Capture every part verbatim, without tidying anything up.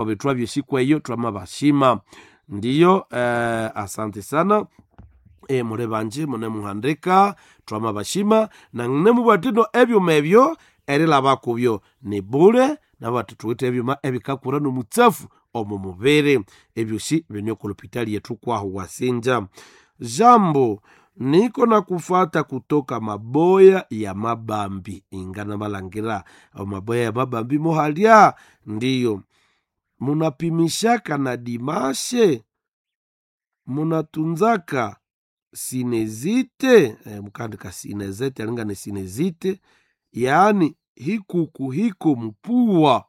Betwa byesikweyo twamabashima ndiyo. Eh, asante sana e, muli banji munemuhandika twamabashima na nemubwatino ebyuma ebyo erilaba kubyo ni bule nabati tuwithe ebyuma ebikakura nomutsafu omu mubiri ebyosi bine okulopitali yetu kwaho wasinja. Jambo, niko na kufata kutoka maboya ya mabambi ingana malangira maboya ya mabambi mohalya ndiyo munapimishaka na dimashe munatunzaka sinezite eh, mukandika sinezite alinga ni sinezite yaani hikuku hiko mpuwa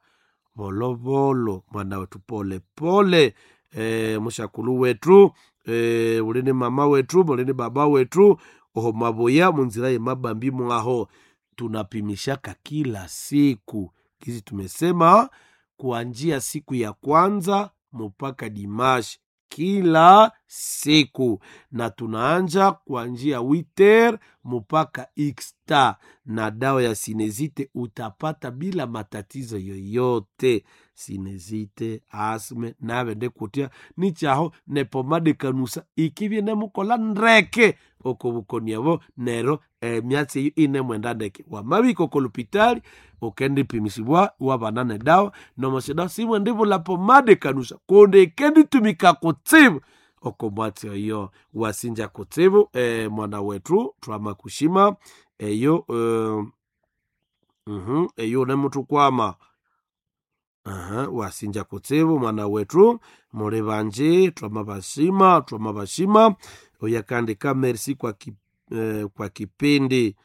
volovolo mwana wetu pole pole e, mushakulu wetu e, ulini mama wetu mulini baba wetu oho maboya munzira ye mabambi mwaho tunapimishaka kila siku kizi tumesema kuanjia siku ya kwanza mpaka dimashi kila siku na tunaanja kuanjia witer mpaka xta na dawa ya sinezite utapata bila matatizo yoyote. Sinezite asme navende kutia nichaho nepomade kanusa ikivye nemukola ndreke okobukoniavo nero emyatsi eyo inemwenda ndeke wamabika okolupitali ukendipimisibwa wabana nedawa nomosida simwendivula pomade kanusa kundi ikenditumika kutsibu okomwatsi oyo wasinja kutsibu. E, mwana wetu twamakushima eyo e, uh-huh, eyo nemutukwama uh-huh, wasinja kutsibu mwana wetu muli banji twamabashima twamabashima oyakandika merci kwa, ki, eh, kwa kipindi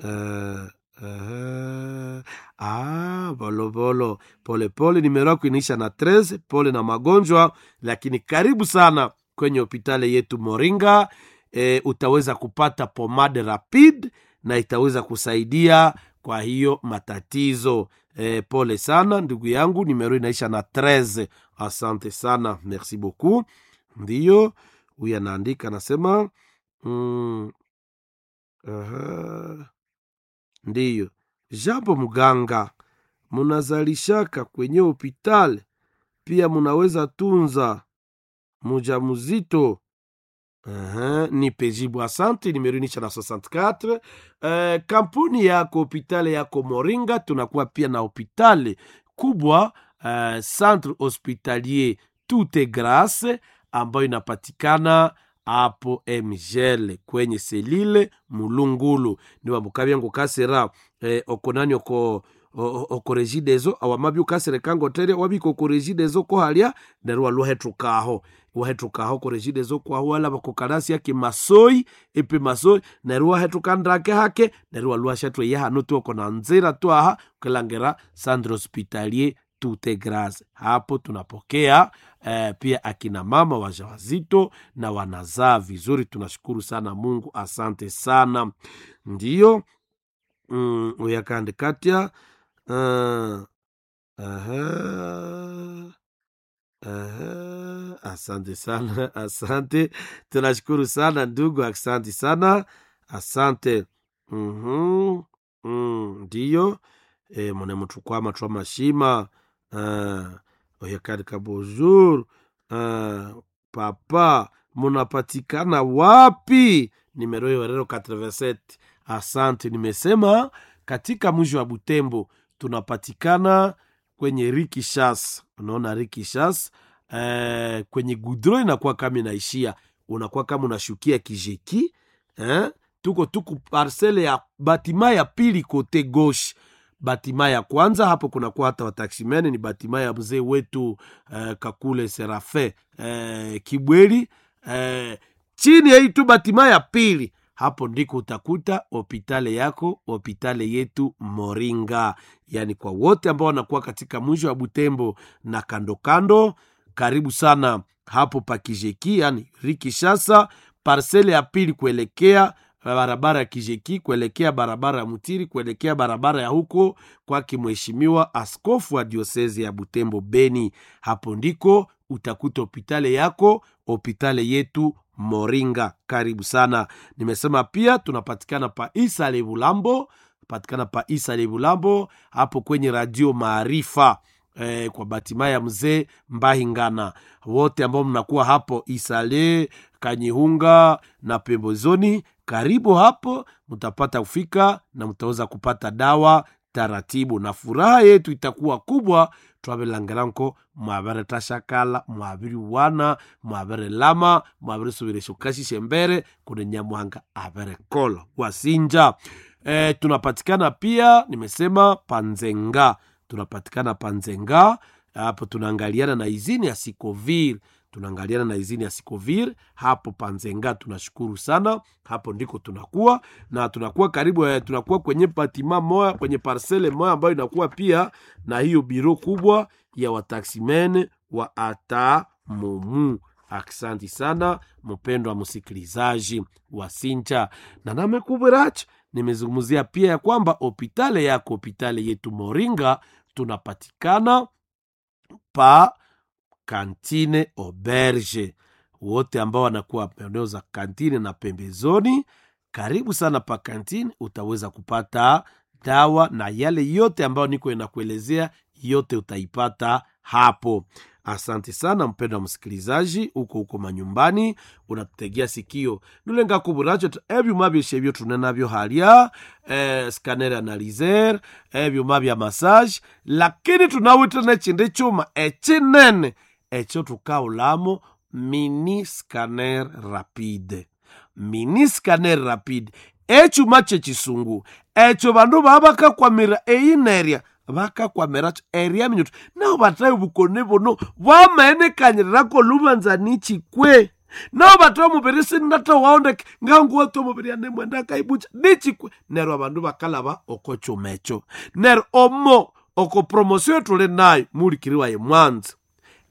uh, uh, ah, volovolo polepole nimero yako inaisha na tres pole na magonjwa lakini karibu sana kwenye hopitali yetu Moringa. E, utaweza kupata pomade rapide na itaweza kusaidia kwa hiyo matatizo. E, pole sana ndugu yangu, nimero inaisha na treze. Asante sana, merci beaucoup. Ndiyo huyu anaandika anasema mm, aha, ndiyo jambo mganga, munazalishaka kwenye hopitali pia munaweza tunza mujamuzito. Aha, nipe jibu asante. Nimero inaisha na sitini na nne. Eh, kampuni yako hopitali yako Moringa, tunakuwa pia na hopitali kubwa eh, Centre Hospitalier Toute Grace ambayo inapatikana hapo Mgel kwenye selile Mulungulu niwa mukabya kasera eh, okonani oko okoregidezo awamabya ukasere kangotere wabika okoregidezo kohalya neryo waluhethukaho wahethukaho koregidezo kwaho walaba kokalasi yake masoi epe masoi neryo wahethuka ndake hake neryo waluwashathu eya hano tuoko na nzira twaha ukilangira Centre Hospitalier Toute Grace. Hapo tunapokea eh, pia akina mama wajawazito na wanazaa vizuri. Tunashukuru sana Mungu, asante sana. Ndiyo mm, uyakandikatia uh, aha, aha, asante sana asante, tunashukuru sana ndugu, asante sana, asante. mm-hmm. mm, ndiyo e, mune mutukwama twa mashima uh, oyakandika bonjour uh, papa munapatikana wapi? Nimero hiyo rero eighty-seven. Asante, nimesema katika mji wa Butembo tunapatikana kwenye Rikishas. Unaona Rikishas eh, kwenye gudro inakuwa kama inaishia, unakuwa kama unashukia Kijeki eh? Tuko tuku parcele ya batima ya pili kote gauche batima ya kwanza hapo kunakuwa hata wataximene ni batima ya mzee wetu eh, Kakule Serafe eh, Kibweli eh, chini ya hii tu batima ya pili hapo ndiko utakuta hopitale yako hopitale yetu Moringa. Yaani kwa wote ambao wanakuwa katika mwisho wa Butembo na kando kando, karibu sana hapo pakijeki, yani Rikishasa parsele ya pili kuelekea barabara ya Kijeki kuelekea barabara ya Mutiri kuelekea barabara ya huko kwake mheshimiwa askofu wa diosezi ya Butembo Beni. Hapo ndiko utakuta hopitale yako hopitale yetu Moringa. Karibu sana. Nimesema pia tunapatikana pa Isale Bulambo, patikana pa Isale Bulambo hapo kwenye radio Maarifa. eh, kwa batima ya mzee Mbahingana. Wote ambao mnakuwa hapo Isale, Kanyihunga na pembezoni, karibu hapo, mtapata kufika na mtaweza kupata dawa taratibu, na furaha yetu itakuwa kubwa. Twabilangiranko mwabiritashakala, mwabiriwana, mwabirilama, mwabirisubira kashishe mbere kuni Nyamuhanga abirikola wasinja. E, tunapatikana pia nimesema Panzenga, tunapatikana Panzenga hapo, tunaangaliana na izini ya Sikovir, tunaangaliana na izini ya Sikovir hapo Panzenga. Tunashukuru sana, hapo ndiko tunakuwa na tunakuwa karibu eh, tunakuwa kwenye patima moya, kwenye parcele moya ambayo inakuwa pia na hiyo biro kubwa ya wataximene wa ata mumu. Aksanti sana mpendwa msikilizaji wa Sincha na namekubiracho nimezungumzia pia ya kwamba hopitale yako hopitale yetu Moringa tunapatikana pa kantine Auberge. Wote ambao wanakuwa eneo za kantine na pembezoni, karibu sana pa kantine, utaweza kupata dawa na yale yote ambayo niko inakuelezea yote utaipata hapo. Asante sana mpendwa msikilizaji, uko huko manyumbani unatutegea sikio nulenga kuburacho ebyuma byeshe ebyo tunenabyo halya eh, scanner analyzer ebyuma bya massage, lakini tunawite nechindi chuma echinene echo tukaulamo mini scanner rapide, mini scanner rapide echuma chechisungu echo bandu babakakwamira eyinerya vakakwamiracho eria minyoto nao vatayo vukoni vuno vwamaenekanyirako luvanza nichikwe nao vatayo muviri sinata waondeke nganguwa to muviri anemwenda kaibucha nichikwe neryo avandu vakalava oko chumecho neryo omo oko promosio tuli nayo mulikiriwa ye mwanza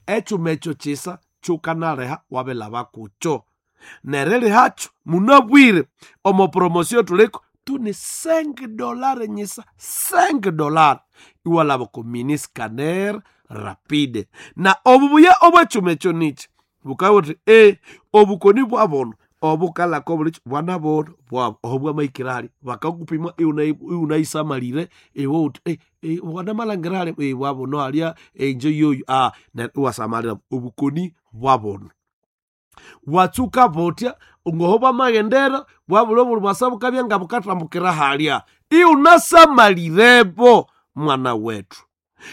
echumecho chisa chukanaleha wavelava kucho nerelihacho munabwire omo promosio tuliko tuni cinq dollar nyisa cinq dollar iwalava ku mini scanner rapide na obubuya obwechumecho nichi bukawuthi e obukoni bwabono obukalako bulicho bwana bono bwabo obwamaikirali bakakupima iunaisamalire iwe uthi e, e, bwana malangirali e, bwabono alya enje yoyo ah, na iwasamalira obukoni bwabono watsuka botya ngoho bwamaghendera bwabula obuli bwasa bukabya nga bukathambukira halya iunasamalirepo mwana wetu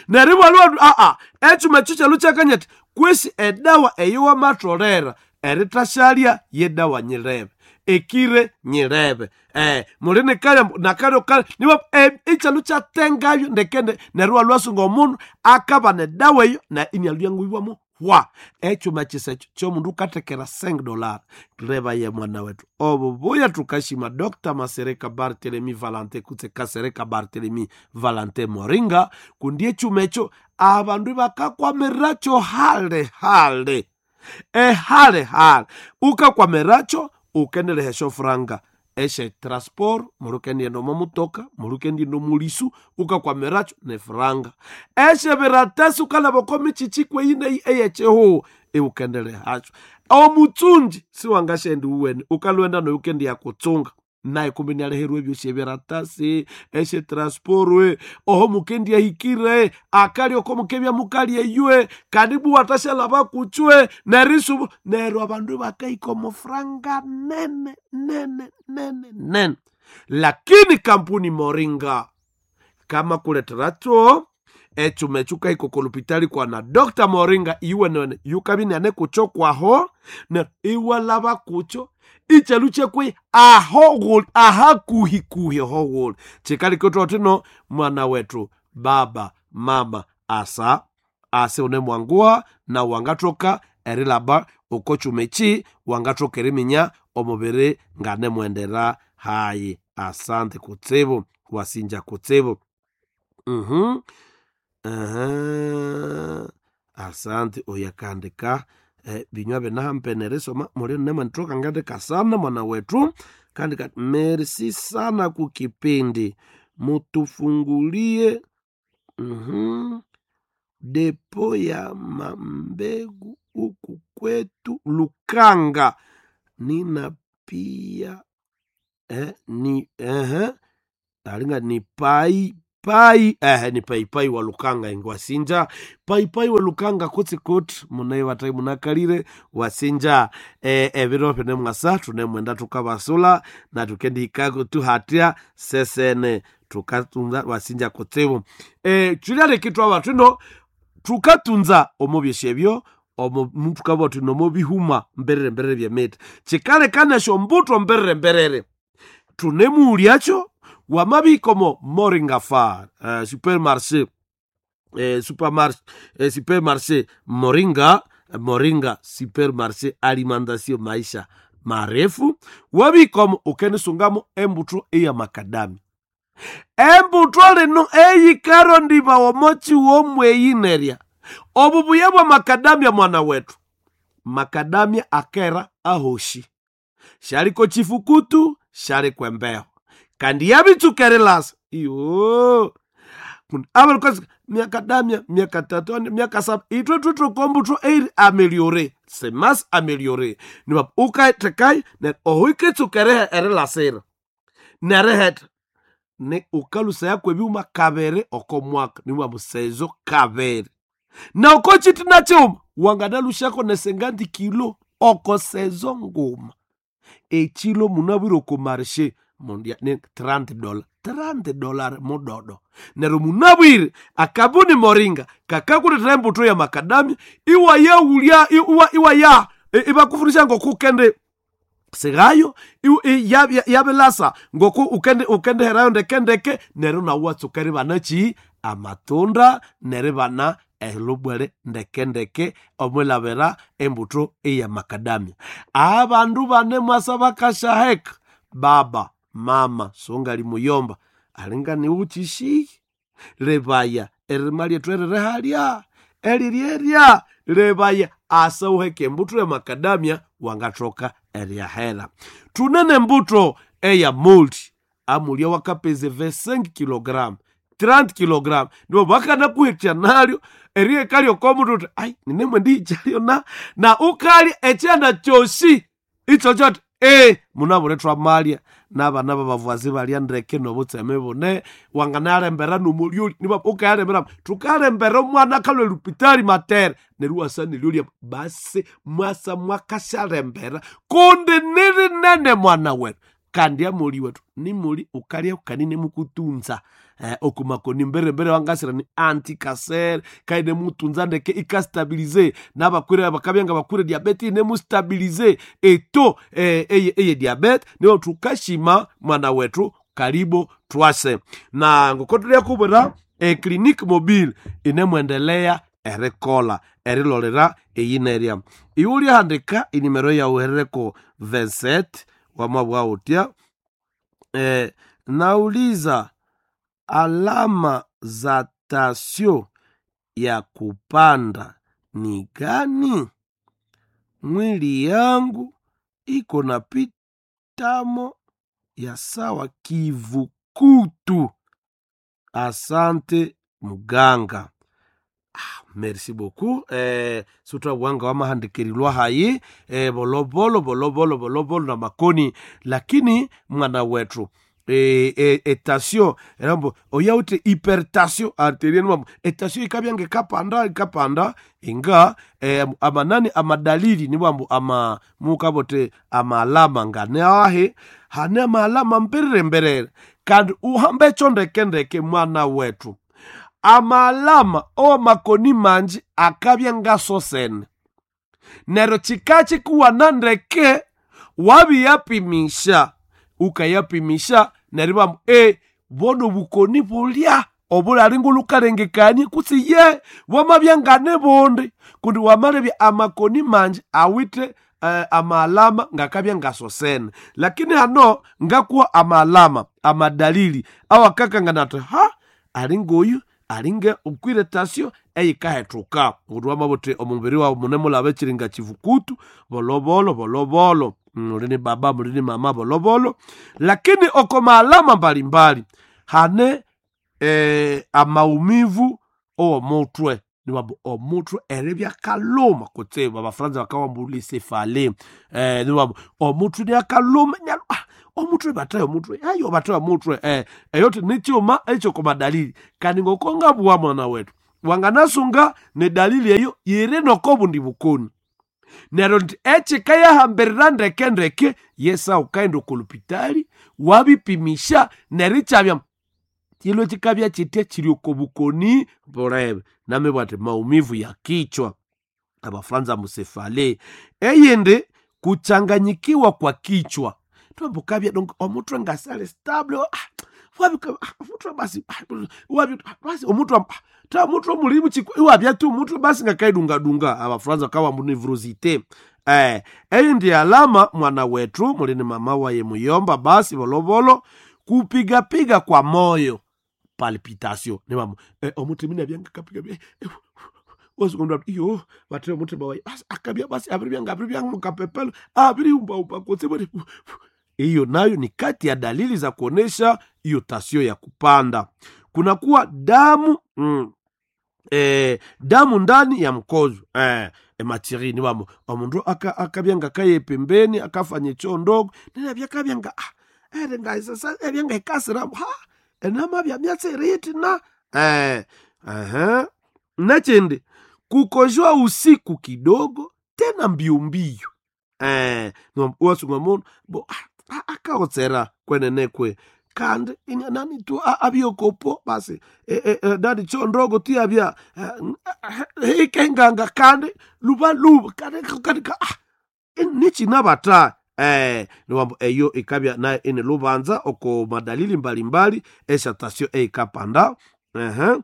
neryo ibwalwa aa echuma ekyo kyalu kyakanyati kwesi edawa eyo wamatholera eritashalya yedawa nyirebe ekire nyirebe eh, muli nikalya nakalyo kale niba eh, ichalu kyatengayo ndekende neryo walwasunga omundu akaba nedawa eyo na inyaluyanguibwamu hwa echuma chisecho chomundu ukatekera cinq dollar reva ye mwana wetu obubuya tukashima Dr Masereka Barthelemy Valante kutse Kasereka Barthelemy Valante Moringa kundi echuma echo abandu bakakwamiracho hale hale ehale hale ukakwamiracho ukendelehesho franga eshe transport mulukendienda omo mutoka mulukendienda omulisu ukakwamiracho nefranga eshe biratasi ukalaba oko michichi kweyineyi eyechihuhu iwukendelehacho omutsunji siwangashendi uwene ukalwenda noyo ukendiya kutsunga naye kumbe nialeherwe ebyosi ebiratasi eshe transportwe oho mukendiahikire akali oko mukebya mukali eywe karibu watashalaba kuchwe nerisubu neryo abandu bakaika omufranga nene nene nene nene lakini kampuni Moringa kama kuleteracho echuma echo ukahika kolupitali kwa na Dr Moringa iwenene yukabinane kucho kwaho neryo iwalaba kucho ichalu chekwe aho guli ahakuhikuhi ho guli chikalikotwa tino mwana wetu baba mama asa ase une mwanguha na wangathoka erilaba oko chuma echi wangathoka eriminya omubiri nganemwendera hayi. Asante kutsibu wasinja kutsibu. Mhm. Aha. Asante uyakandika eh, binywa binahampeneresoma muli nemwenithoka ngandika sana mwana wetu kandika merci sana kukipindi mutufungulie mhm, depo ya mambegu huku kwetu Lukanga nina pia eh, ni eh, alinga ni pai Paipai eh, ni paipai wa Lukanga ingwasinja paipai wa Lukanga kutsi kuti munaye batai munakalire wasinja eh, ebiro bine mwasa tunemwenda tukabasula na tukendihikako tuhatya sesene tukatunza wasinja kutsibu eh, chulyalekitwa abantu ino tukatunza omo byesyo omo tukabwa thuno omo bihuma mberere mberere byemiti kikalekana esyo mbuto mberere mberere tunemuulyakyo wamabikomo moringa far uh, supermarché eh, supermarché eh, supermarché moringa moringa supermarché alimentation maisha marefu wabikomo ukenisungamo embuto eya makadami embuto lino eyikarondiba omochi womweyinerya obubuya bwa makadamia mwana wetu makadamia akera ahoshi shaliko chifukutu shaliko embeho kandi yabitsukerilasa iyo abalikosi miaka damia miaka tatu ane, miaka saba itwe tutukombuto eiri ameliore semas ameliore niba ukaitekai ne ohuikitsukerehe erilasira neriheta ne ukalusa yakwe ebyuma kabere oko mwaka niwa musezo kabere na oko chitina chiuma wanganalushako nesengandi kilo oko sezo nguma echilo munabwire oko marshe mundia ni thirty dollar thirty dollar mudodo neryo munabwire akabuni moringa kakakuletera embuto ya makadamia iwa yaulya iwa, iwa ya ibakufunisha ngokukende sigayo yabilasa ngoku ukende ukendeherayo ndekendeke neryo nawu watsuka eribana chi amatunda neribana elubwere ndekendeke omwilabira embuto eya makadamia abandu bane mwasa bakashaheka baba mama songali muyomba alinga niwuchishihi lebaya erima lyethu eririhalya elirierya lebaya asa uheke embuto ya makadamia wangathoka eryahera tunene embuto eya multi amulya wakapeza vingt-cinq kilogramu thirty kilogramu nibo bakanakuhekya nalyo eriheka lyokomutu uthi ai ninemwe ndiyichalyo na na ukalya ekyana kyosi icho kyothi e munabulethwa malya n'abana babavuazi balya ndeke nobutseme bune wanganalembera nomulyoli niba ukayalembera tukalembera omwana akalwa elupitali matere neryo iwasa nelyolya basi mwasa mwakasyalembera kundi nirinene mwana wetu kandi amuli wetu nimuli ukalya ukanine mukutunza eh, okumakoni mberembere wangasira ni antikasere kaine mutunza ndeke ikastabilize nabakwire bakabya bakwire diabete inemustabilize eto eh, eye, eye diabete niyo tukashima mwana wetu karibu twase na ngoko kubwira e clinique mobile inemwendelea erikola erilolera eyinerya iwe ulyahandika inimero yawu herereko vingt-sept wamabwa utya eh, nauliza alama za tasio ya kupanda ni gani? Mwili yangu iko na pitamo ya sawa kivukutu. Asante muganga. Ah, merci beaucoup eh, sutra wanga wamahandikirilwa hayi eh, bolobolo bolobolo bolobolo na makoni lakini mwana wetu e, e, etasio erambo oyauti hypertension arterienne mambo etasio ikabyange kapanda ikapanda inga e, amanani amadalili ni wambo ama mukabote amalama ngane ahe hane amalama mperere mberere kandi uhambe chondekendeke mwana wetu amalama omakoni manji akabya ngasosene neryo chika chikuwana ndeke wabiyapimisha ukayapimisha neryo bamu e bono bukoni bulya obulali ngulukalengekanie kutsi ye bwamabya ngane bundi kundi wamalebya amakoni manji awithe uh, amalama ngakabya ngasosene lakini hano ngakuwa amalama amadalili awakakangana ati ha alingoyu alinga ukwire tasio eyikahethuka kuti wamabuthi omubiri wawu munemulaba ekiringa kivukutu bolobolo bolobolo mulini baba mulini mama bolobolo lakini oko maalama mbalimbali hane eh, amaumivu owomutwe niwambu omutwe eribya kaluma kutsibu abafaransa bakawambu lisefale eh, niwambu omutwe niakaluma ah, Omutwe bataye omutwe ayo bataye omutwe eh eyo ni chuma echo kwa dalili kandi ngokonga bwa mwana wetu wanganasunga ne dalili eyo yiri noko bundi bukoni nero nti echikayahambirira ndeke ndeke yesa ukaenda okolupitali wabipimisha neri chabya chilo chikabya chitya chiri oko bukoni bulebe namibwa ati maumivu ya kichwa abafranza musefale eyindi kuchanganyikiwa kwa kichwa twambukabya donc omutwe ngasale stable ah, wabi ah, omutwe basi ah, wabi basi omutwe ah, ta omutwe mulimu chikwa iwabya tu omutwe basi ngakaidungadunga abafranza kawa munevrosite eh eyindi alama mwana wetu mulini mama waye muyomba basi bolovolo kupigapiga kwa moyo palpitation ni mamo eh, omutima inabyanga kapiga eh, eh, wazungumza iyo bathe omutima waye basi akabya basi abiri byanga abiri byanga mukapepelo abiri umba umba kotse bari hiyo nayo ni kati ya dalili za kuonesha hiyo tasio ya kupanda kunakuwa damu mm, eh, damu ndani ya mkojo eh, ematiri ni wamo omundu akabyanga kaye pembeni akafanya choo ndogo ninabyakabyanga ah, ere ngaisasa ebyanga ikasira ha enama bya myatsi na eh, aha nachende kukojoa usiku kidogo tena mbio mbio eh, wasunga mundu bo ah, akaotsera kwenenekwe kandi inya nani tu abiokopo basi e, e, e, dadi cho ndogo ti abia ikenganga kandi luba luba kandi kandi ka ah, nichinabata eh niwambo eyo ikabya nayo ine lubanza oko madalili mbalimbali eshatasio eikapanda ehe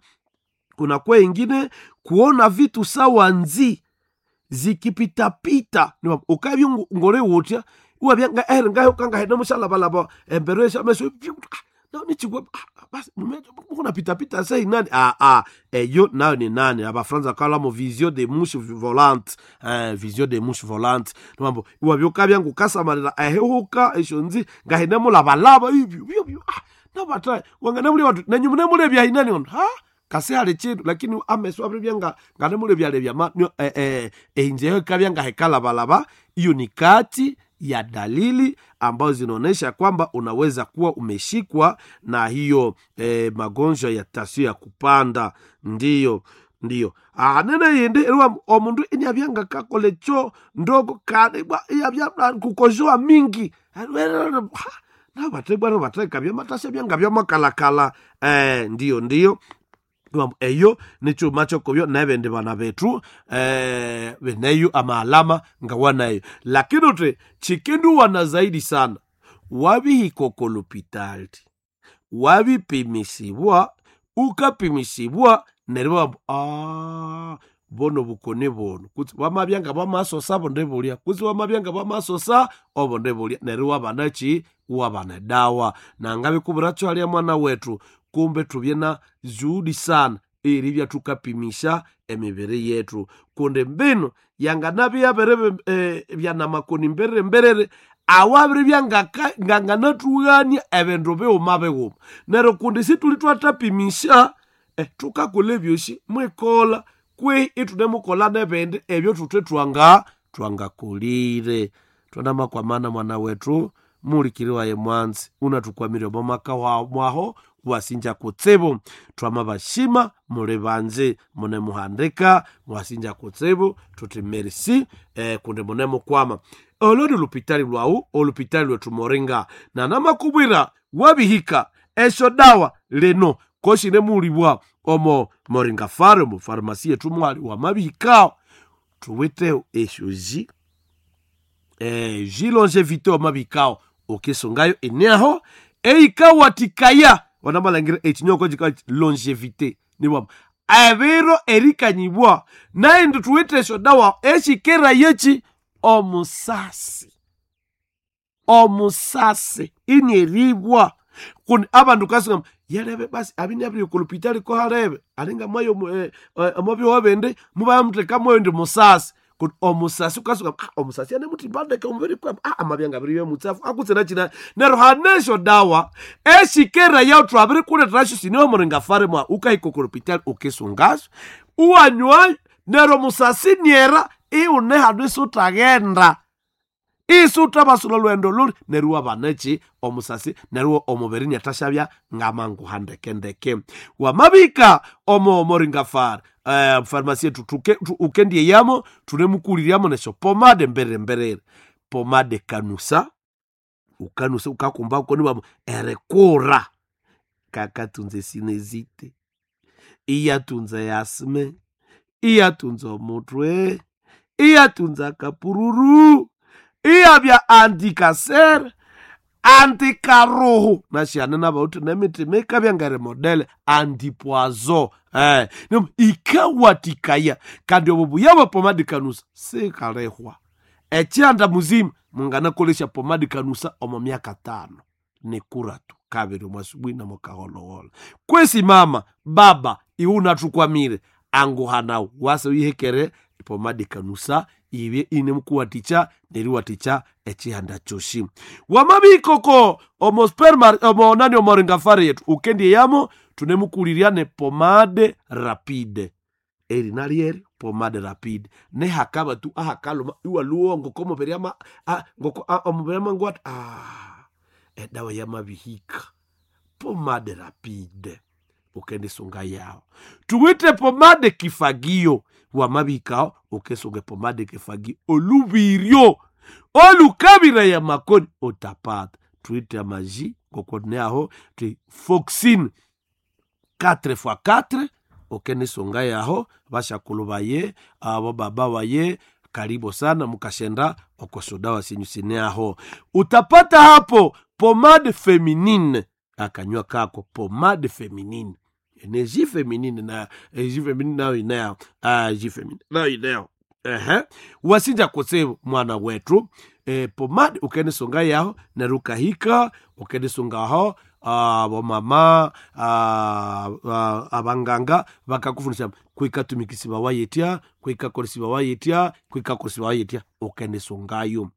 kuna kwa ingine kuona vitu sawa nzi zikipitapita niwambo ukabya ngore wotya iwabyanga ere ngayo kangahena mushalabalaba embere shameso nichigwa basi mukuna pitapita sei nani ah ah eyo nayo ni nani abafranza kalamo vision de mouche volante eh, vision de mouche volante niwambo iwabyoka byangu kasamalira ehehuka esho nzi ngahena mulabalaba ibyo ibyo ah nabata wangana muli watu nanyu mune bya inani on ha kasi hali chindu lakini ameso abiri byanga ngane muli byale bya ma eh eh einjeyo kabyanga hekalabalaba iyo ni kati ya dalili ambazo zinaonyesha kwamba unaweza kuwa umeshikwa na hiyo eh, magonjwa ya tasio ya kupanda ndiyo ndiyo anene yindi eriwa omundu inyabyanga kakole cho ndogo kanibwa iyabya kukojoa mingi nabatebwana batekabya matasya byanga byamakalakala eh, ndiyo ndiyo eyo nichuma chokobyo nebindi bana bethu eh, beneyo amaalama ngawanayo lakini uti chikinduwana zaidi sana wabihikokolopitali wabipimisibwa ukapimisibwa neryo ah, bono bukoni bono kutsi wamabyanga bwamasosa bonde bulya kutsi wamabyanga bwamasosa obonde bulya neryo wabana chi wabana dawa nangabikubura chwalya mwana wetu kumbe tubye na juhudi sana eribya tukapimisha emibiri yetu kundi mbino yanganabya yabere eh, byanamakoni mberere mberere awabiri byanganathughania ebindu bighuma bighuma neryo kundi situli twathapimisha eh, tukakola ebyosi mwikola kwehi ithunemukola nebindi ebyo thuthe twanga twangakolire twanamakwamana mwana wetu mulikiri waye mwanzi unathukwamire omo maka mwaho wasinja kutsibu twamabashima muli banji munemuhandika mwasinja kutsibu tuti merci eh, kundi munemukwama olo ni lupitali lwawu olupitali lwetu moringa nanamakubwira wabihika esyo dawa lino koshine mulibwa omo moringa fare omo farumasi yetu mwali wamabihikao tuwiteo esyo ji eh, ji longevité wamabihikao ukisungayo ineaho eikawatikaya wanamalangire echinyoko chika longevité niwamo ebiro erikanyibwa naindi tuwite esyo dawa eshikera yechi omusasi omusasi inieribwa kundi abandu kasinga yalebe basi abini kulupitali ko halebe alinga mwayo eh, eh, omubyo wabende mubamutheka mwayo ndi musasi kuti omusasi ukasuka ah, omusasi ane muti bandeke omubiri kwa ah, amabyanga abiri mutsafu akutsena china nero hanesho dawa eshikera yautu abiri kuleterasho siniwe muringa fare mwa ukahikokolopitali ukisungasho uwanywayo nero musasi niera iune hanu isutaghenda Isuta basula lwendo luli neruwa banechi omusasi neruwa omubiri nyatashabya ngamanguha ndeke ndeke. Wamabika omo moringa far eh, farmasi yetu tuke, tu, ukendie yamo tunemukuliriamo nesho pomade mbere mbere pomade kanusa ukanusa ukakumba ukoniwamo erekura kakatunze sinezite iyatunze yasme iyatunze omutwe iyatunza kapururu iyabya antikaser antikaruhu nashiyane nabauti nemitima ikabya ngeri modele antipoazo eh, nimu ikawatikaya kandi obo buya bwa pomade kanusa sikalehwa ekyanda muzima munganakolesha pomade kanusa omo myaka tano nikuratu kabiri mwasubuhi na mukaholoholo kwesi mama baba iwe unathukwamire anguhanawu wase uyihekere pomade kanusa ibye inemukuwaticha neriwaticha echihanda choshi wamabikoko omo sperma omo nani omoringafari yetu ukendie yamo tunemukulirya ne pomade rapide eri nalieri pomade rapide nehakaba tu ahakaluma iwaluwo ngoko omubiri ama a- ngoko a- omubiri amangu ati ah, edawa yamabihika pomade rapide ukendisunga yawo tuwite pomade kifagio wamabikao ukesunga pomade kifagio olubiryo olukabira ya makoni utapata tuite amaji ngokoneaho ti foxin quatre x quatre okenisunga yaho bashakulu baye abo baba baye karibu sana mukashenda okosodawa sinyu sineaho utapata hapo pomade feminine akanywa kako pomade feminine energie feminine na energie feminine nayo inayo ah, energie feminine nayo inayo ehe wasinja kutsibu mwana wetu e, pomade ukenisunga yaho nerukahika ukenisungaho ah, bomama ah, ah, abanganga bakakufundisha kwikatumikisiba wayetya kwikakolesiba wayetya kwikakolesiba wayetya ukenisungayo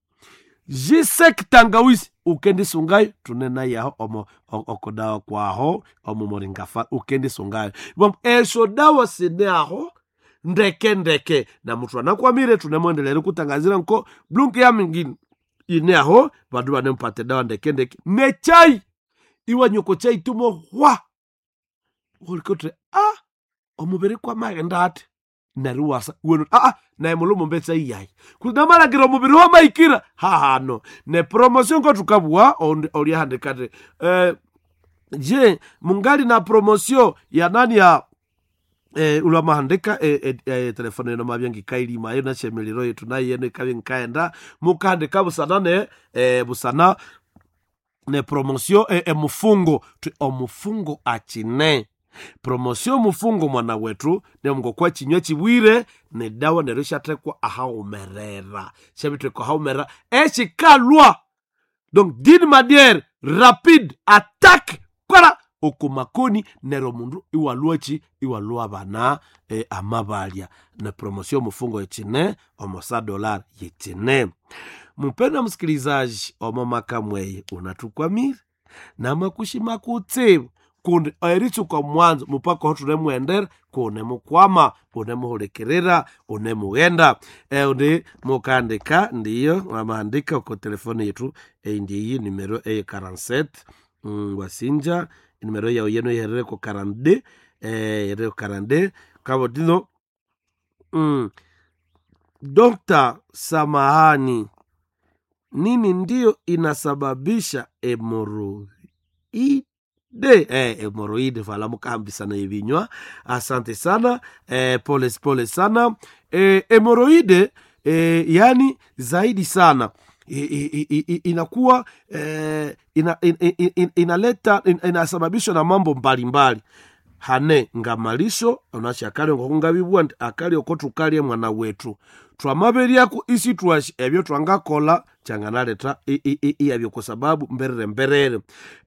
jisek tangawisi ukendisungayo tunena yaho omo o- okodawa kwaho omo moringafa ukendisungayo bom esho dawa sine aho ndeke ndeke na muthu anakwamire tunemwendelere kutangazira nko blunki ya mingine ine aho vandu vanempate dawa ndeke ndeke nechai iwanyoko chai tumo hwa ulikotre a omubiri kwamaghenda ati neryo wasa wenu aa naye mulumo mbetsa iyayi kunamalakira omubiri wamaikira hahano ne promotion ngotukabwa oliahandikati eh, je mungali na promotion ya nani ya eh, ulamahandika eh, eh, eh, telefone eno mabya ngikailima yo nashemelero yetu nayo yeno ikabya ngikaenda mukahandika busana ne eh, busana ne promotion eh, emufungo Twi omufungo achine promotion mufungo mwana wetu nemngokwa chinywa chibwire nedawa neryo ishathekwa ahaumerera shabithekwa ahaumerera eshikalwa donc d'une manière rapide attaque kwala okumakoni neryo omundu iwalwachi iwalwa bana e, amabalya ne promotion mufungo yechine omosa dolar yechine mpendwa msikilizaji omo makamweye unatukwamire namakushima kutsibu kundi eritsuka mwanzo mupaka hotunemwendera kunemukwama unemuhulikirira unemughenda eundi mukandika ndiyo wamahandika uko telefoni yetu eyi ndiyi numero eye quarante-sept mm, wasinja numero yawe yeno iherere ko quarante-deux eh, iherere ko quarante-deux kabo dino mm, Dokta samahani nini ndiyo inasababisha hemoroide eh, hemoroide vala mukahambisana ebinywa asante sana eh, pole pole sana eh, hemoroide eh, yani zaidi sana I, i, i, i, inakuwa eh, ina, in, in, in, inaleta in, inasababishwa na mambo mbalimbali hane ngamalisho onashakali ngokungabibwa nti akali oko tukalye mwana wetu twamaberyaku isi twashi ebyo twangakola kyanganaleta iyabyo kwa sababu mberere mberere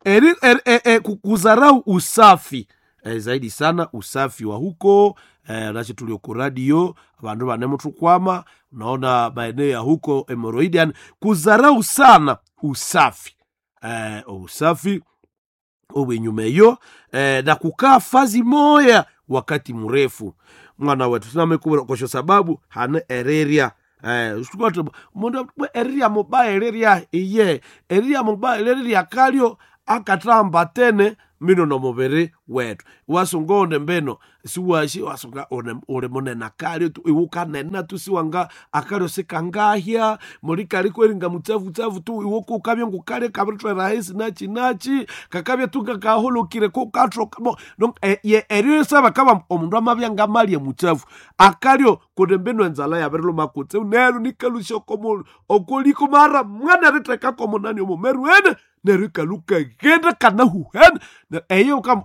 eri, eri, e, e, kuzarau usafi e, zaidi sana usafi wa huko e, nashi tulio ku radio abandu banemutukwama unaona maeneo ya huko hemoroidi yani kuzarau sana usafi e, usafi obwenyuma eyo eh, na kukaa fazi moya wakati mrefu mwana wetu sinamekubura kosho sababu hane ereria Eh, mundu erirya mubaya erirya iye erirya mubaya erirya kalyo akathamba tene mino nomubiri wetu wasunga une mbino siwashi wasunga une uli munene akalyo tu iwe ukanena tu siwanga akalyo sikangahya muli kaliko eringa mutsafu tu iwe kukabya ngukali kabirithwera ahisi nachi nachi kakabya tu ngakahulukire kukathoka bo donc e, ye eryo sabakaba omundu amabya ngamalya mutsafu akalyo kundi mbino enzala yabiriluma kutse neryo nikalusya okomundu okoliko mara mwana erithekako munani omumeru ene neryo ikalukaghenda kanahuhene eyo kam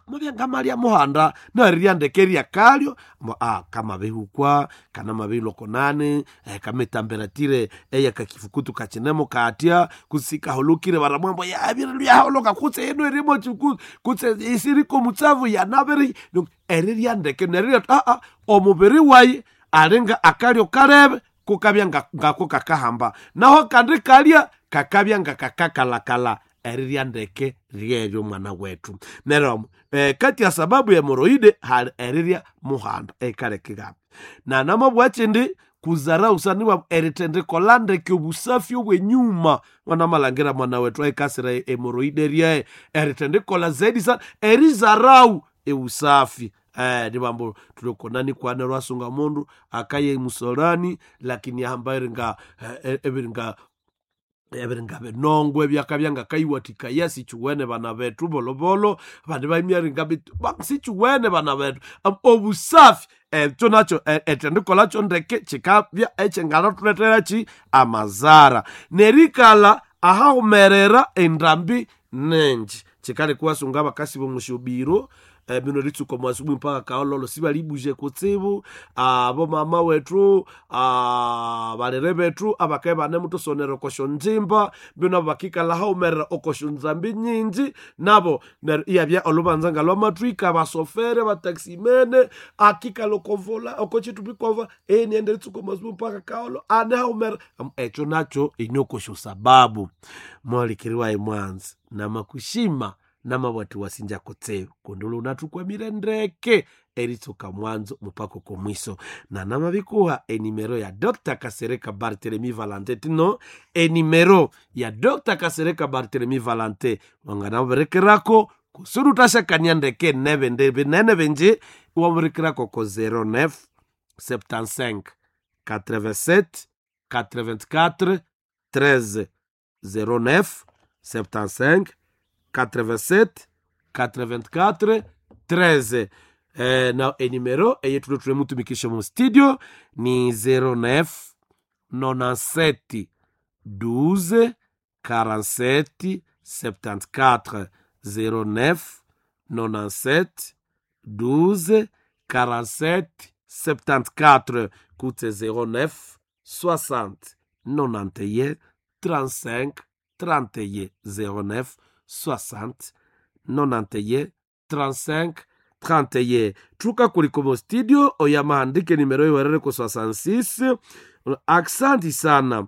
mabya ngamalya muhanda narirya ndeke erya kalyo mo ah kamabihukwa kana mabilokonani eh, kametamberatire eyakakifukutu kachinemo katya kusikahulukire baramwambo yabiriluyaholoka kutse eno erimo chiku kutse isiriko mutsavu yanabiri erirya ndeke nerirya ah ah omubiri wayi alinga akalyo kalebe kukabya ngako kakahamba naho kandi kalya kakabya nga kakakalakala erirya ndeke ryeryo mwana wetu neryo eh, kati ya sababu ya hemoroide hali erirya muhanda ekalekekapi na namabwa chindi kuzarau saniwa erithendikola ndeke obusafi obwenyuma mwana malangira mwana wetu aikasira hemoroide ryae erithendikola zaidi sana erizarau eusafi eh, ndivambo tulikonani kwana lwasunga mundu akaye musolani lakini ahamba eringa eh, ebiringa ebiringa binongo ebyakabya ngakaiwathikaya sichiwene bana bethu bolobolo bandi baimyaringa sichiwene bana bethu obusafi ekyo nakyo ethendikolakyo ndeke kikabya ekyengalathuletera ki amazara nerikala ahahumerera endambi nengi kikaleka iwasunga abakasi bomusyobiro eh, bino ritsuka mwasubuhi mpaka kaololo sibalibuje kutsibu abo mama wetu ah, balere bethu abakae banemutusonera okosyo nzimba bino abo bakikala haumerera okosyo nzambi nyingi nabo neryo iyabya olubanza nga lwamathwika basofere bataximene akikala okovola okochithupi kova eniende ritsuka mwasubuhi mpaka kaolo ane haumerera ekyo nakyo inokosyo sababu mwalikiriwaye mwanzi namakushima namabwati wasinja kutseyo kundi lunathukwamire ndeke eritsuka mwanzo mupaka komwiso na namabikuha enimero ya dr kasereka bartelemi valante tino enimero ya dr kasereka bartelemi valante wanganamuberekerako kusudi utashakania ndeke nebe binene binji iwamuberekerako ko zero nine septante-cinq quatre-vingt-sept quatre-vingt-quatre treize zero neuf septante-cinq quatre-vingt-sept quatre-vingt-quatre treize eh, na enimero eyethulo tulemutumikisha mu studio ni zero nine nonante-sept douze quarante-sept septante-quatre zero nine nonante-sept douze quarante-sept septante-quatre kutse zero neuf soixante nonante et un trente-cinq trente et un zero neuf soixante nonante et un trente-cinq trente et un thuka kulikomo studio oyamahandike nimero iwerere ku soixante-six aksanti sana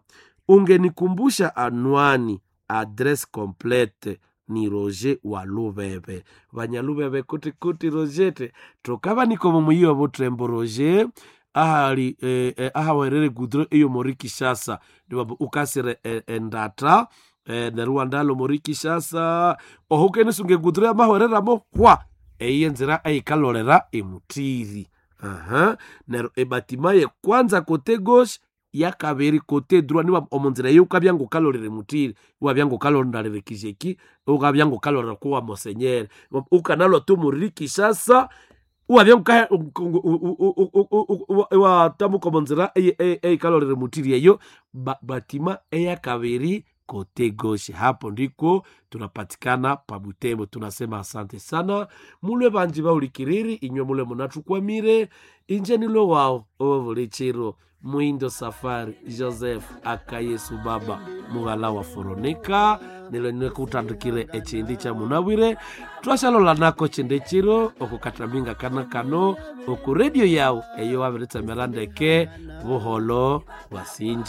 ungenikumbusha anwani adresse complete ni Roger wa Lubebe vanyalubebe kuti kuti Rogete tukava nikomo muyiwa butrembo Roger ahali eh, eh, ahawerere gudro iyo mori Kishasa ndiwambo ukasire eh, endata eh, neryo wandalo mori Kishasa ohukenisunge gudro yamahwereramo hwa eyiye nzira eyikalolera emutiri aha neryo ebatima ye kwanza kote gauche yakabiri kote droit niwa omunzira eyo ukabya ngukalolera emutiri iwabya ngukalondalera kijeki ukabya ngukalolera kuwa mosenyere ukanalwa tu muri Kishasa iwabya iwatamuka omunzira eyikalolera emutiri eyo batima eyakabiri kote gauche hapo ndiko tunapatikana pa Butembo. Tunasema asante sana mulwe banji baulikiriri inywe mulwe munathukwamire inje nilwe wao owo chiro Mwindo Safari Joseph akayesu baba mughala wa Foronika nilo nikutandikire echindi cha munabwire twashalola nako chindi chiro okukatambinga kana kano oku radio yao eyo wabiritsemera ndeke buholo bwasinja.